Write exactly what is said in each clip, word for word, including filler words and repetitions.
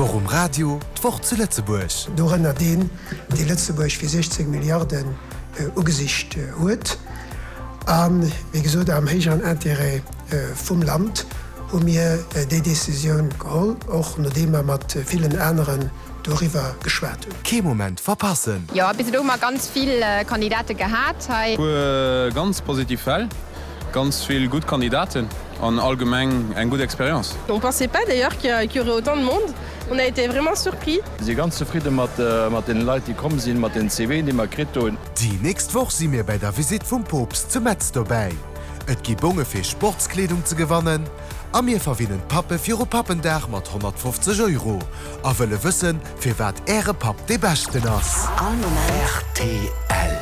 D'Woch um Radio, d'Woch zu Lëtzebuerg. Dorënner deen, dee Lëtzebuerg fir siechzéng Milliarden ugesicht huet. A wéi gesot, am héijeren Intérêt vum Land hu mir déi Décisioun geholl, och nodeem mer mat villen aneren doriwwer geschwat hunn. Kee Moment verpassen! Jo, bis elo hu mer ganz vill Kandidate gehat hei. Puer ganz positiv Fäll, ganz vill gutt Kandidaten an allgemeng eng gutt Expérience. On pensait pas d'ailleurs qu'il y aurait autant de monde, on a été vraiment surpris. Si ganz zefridde mat mat den Leit déi komm sinn, mat den C Ven déi mer kritt hunn. Déi nächst Woch si mir bei der Visitt vum Poopst zu Metz dobäi. Et gi Bonge fir Sportskleedung ze gewannen a mir verwinnen d'Pappe viru Pappendag mat honnertfofzeg Euro a wëlle wëssen, firwat äre Papp dee beschten ass. All Moment. R T L.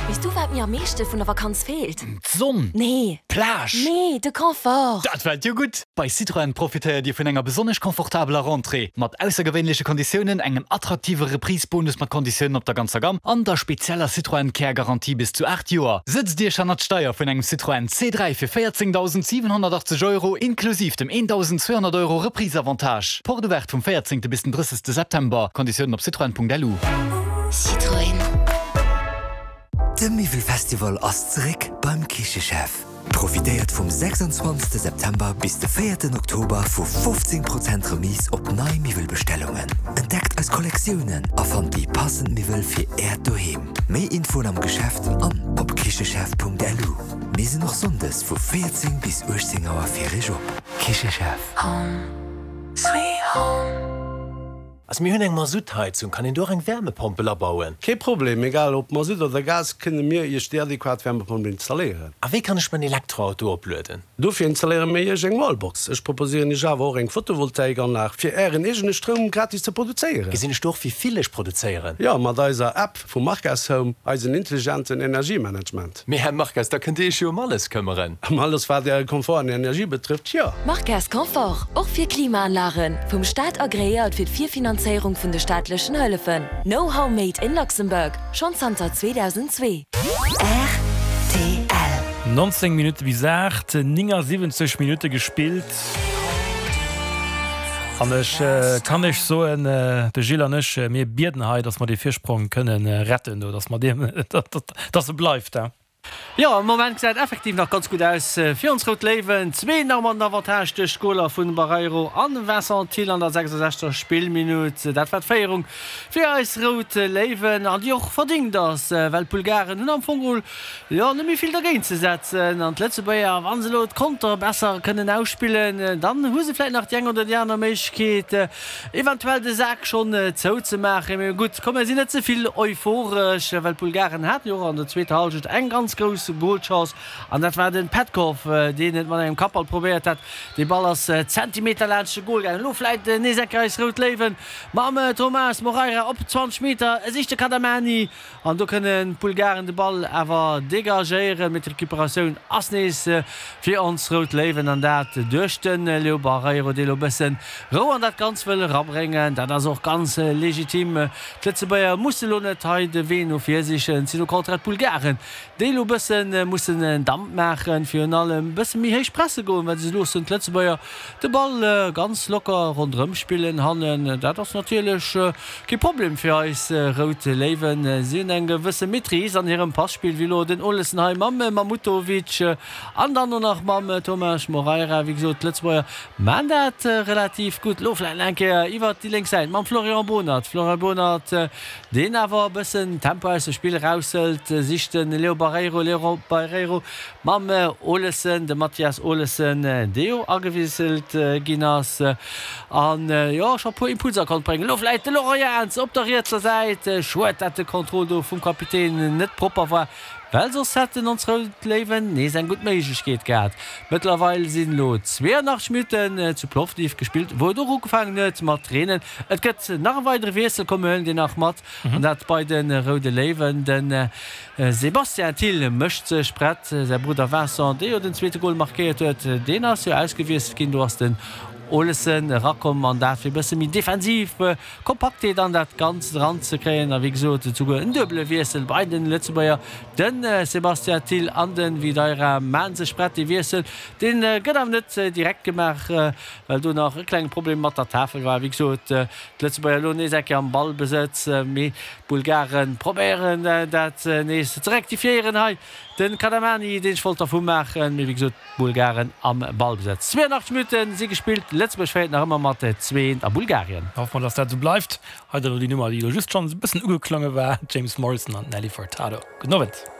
Weess du, wat mir am meeschte vun der Vakanz feelt? D'Sonn. Nee. D'Plage. Nee, de Confort. Dat fält jo gutt! Bei Citroën profitéiert Dir vun enger besonnesch komfortabeler Rentrée mat aussergewéinleche Konditiounen, engem attraktive Reprise-Bonus mat Konditiounen op der ganzer Gamm an der spezieller Citroën Care Garantie bis zu aacht Joer. Sëtzt Iech hannert d'Steier vun engem Citroën C dräi fir véierzéngdausendsiwenhonnertachtzeg Euro inklusiv dem eendausendzweehonnert Euro Reprise-Avantage. Porte ouverte vum véierzéngte bis den drëssegste September. Konditiounen op citroen Punkt L U. Citroën. De Miwwelfestival ass zeréck beim Kichechef. Profitéiert vum sechsanzwanzegste September bis de véierten Oktober vu fofzéng Prozent Remise op nei Miwwelbestellungen. Entdeckt eis Kollektiounen a fannt déi passend Miwwel fir Äert Doheem. Méi Infoen am Geschäft an op kichechef Punkt L U. Mir sinn och sonndes vu véierzéng bis uechtzéng Auer fir iech op. Kichechef. Home, sweet home. Also mir hunn eng Masuttheizung, kann een do och eng Wärmepompel abauen? Kee Problem, egal ob Masutt oder Gas, kënne mir Iech déi adequat Wärmepompel installéieren. A wéi kann ech mäin Elektroauto oplueden? Dofir installéiere mir Iech eng Wallbox. Ech proposéieren Iech awer och eng Photovoltaikanlag, fir Ären eegene Stroum gratis ze produzéieren. Gesinn ech do och wéi vill ech produzéieren? Jo, mat eiser App vu Markas Home, eisen intelligenten Energiemanagement. Mee Här Markas, da kënnt Dir Iech jo ëm alles këmmeren. Ëm alles wat Äre Komfort an Energie betrëfft, jo. Markas Confort, och fir Klimaanlagen, vum Staat agreéiert fir d'Virfinanzéierung vun de staatlechen Hëllefen. Know-how made in Luxembourg, schonn zanter zweedausendzwee. R T L. nonzéng Minutte bis aacht, néngasiwwenzeg Minutte gespillt. An ech kann iech soen, de Gilles an ech, mir bieden hei, dass mer dee Virsprong kënne retten, do, dass mer deen, dass e bleift. Jo, am Moment gesäit effektiv nach ganz gutt aus fir ons Rout Léiwen. Zwee nach mat den Avantage duerch d'Goler vun Barreiro an Vincent Thill an der sechsundsechzegster Spillminutt. Dat war d'Féierung fir eis Rout Léiwen an déi och verdéngt ass, well d'Bulgaren hunn am Fong geholl jo net méi vill dergéint ze setzen an d'Lëtzebuerger, wa se elo d'Konter besser kënnen ausspillen, dann hu se vläicht nach déi eng oder déi aner Méiglechkeet, eventuell de Sak schonn zouzemaachen. Mee gutt, komm mir sinn net ze vill euphoresch, well d'Bulgaren haten jo och an der zweeter Hallschent eng ganz grouss Golchance an dat war den Petkov, deen et mat engem Kappball probéiert hat. De Ball ass Zentimeter laanscht de Gol gaangen. Elo vläit nees eng Kéier eis Rout Léiwen mam Thomas Moreira op zwanzeg Meter. E sicht de Kadamani an do kënnen d'Bulgaren de Ball awer degagéieren, mee d'Recuperatioun ass nees fir ons Rout Léiwen an dat duerch de Leo Barreiro, dee elo e bëssen Rou an dat Ganzt wëll erabréngen. Dat ass och ganz legitim. D'Lëtzebuerger musse elo net hei de Wee no vir sichen, et sinn au contraire d'Bulgaren, déi elo e bësse mussen Damp maachen, virun allem e bësse méi héich presse goen, well se loossen d'Lëtzebuerger de Ball ganz locker ronderëm spillen hannen. Dat ass natierlech kee Problem fir eis Rout Léiwen. Si hunn eng gewësse Maîtrise an hirem Passpill, wéi elo den Olesen hei mam Mamutovic an dann och nach mam Tomas Moreira. Wéi gesot, d'Lëtzebuerger maan dat relativ gutt. Elo vläicht nach eng Kéier iwwert déi lénk Säit mam Florian Bohnert. Florian Bohnert, deen awer e bëssen Tempo aus dem Spill eraushëlt, sicht de Leo Barreiro. Leo Barreiro mam Olesen, de Mathias Olesen, dee jo agewiesselt ginn ass an jo scho puer Impulser konnt bréngen. Elo vläicht de Laurent Jans op der rietser Säit. Schued, dat de Contrôle do vum Kapitän net propper war, well soss hätten ons Rout Léiwen nees eng gutt Méiglechkeet gehat. Mëttlerweil sinn elo zweeanachtzeg Minutten zu Plovdiv gespillt, wou et och ugefaangen huet mat reenen. Et gëtt nach e weidere Wiessel, komm mir huelen deen nach mat, an dat bei de Roude Léiwen. De Sébastien Thill mécht sech prett. Säi Brudder Vincent, dee jo den zweete Gol markéiert huet, deen ass jo ausgewiesselt ginn. Do ass den Olesen erakomm an dat fir e bësse méi defensiv Kompaktheet an dat Ganzt eranzekréien. A wéi gesot, souguer en duebele Wiessel bei den Lëtzebuerger, De Sébastien Thill an de Videira maache sech prett. Dee Wiessel, dee gëtt awer net direkt gemaach, well do nach e klenge Problem mat der Tafel war. Wéi gesot, d'Lëtzebuerger elo nees eng Kéier am Ballbesëtz, mee d'Bulgare probéieren dat nees ze rektifiéieren. Hei de Kadamani, deen sech wollt dervu maachen, mee wéi gesot, d'Bulgaren am Ballbesëtz. zweeënachtzeg Minutte si gespillt, Lëtzebuerg féiert nach ëmmer mat zwee eent a Bulgarien. Hoffe mer, dass dat esou bleift. Hei dann elo déi Nummer, déi elo just schonns e bëssen ugeklonge war, James Morrison an Nelly Furtado. Gudden Owend.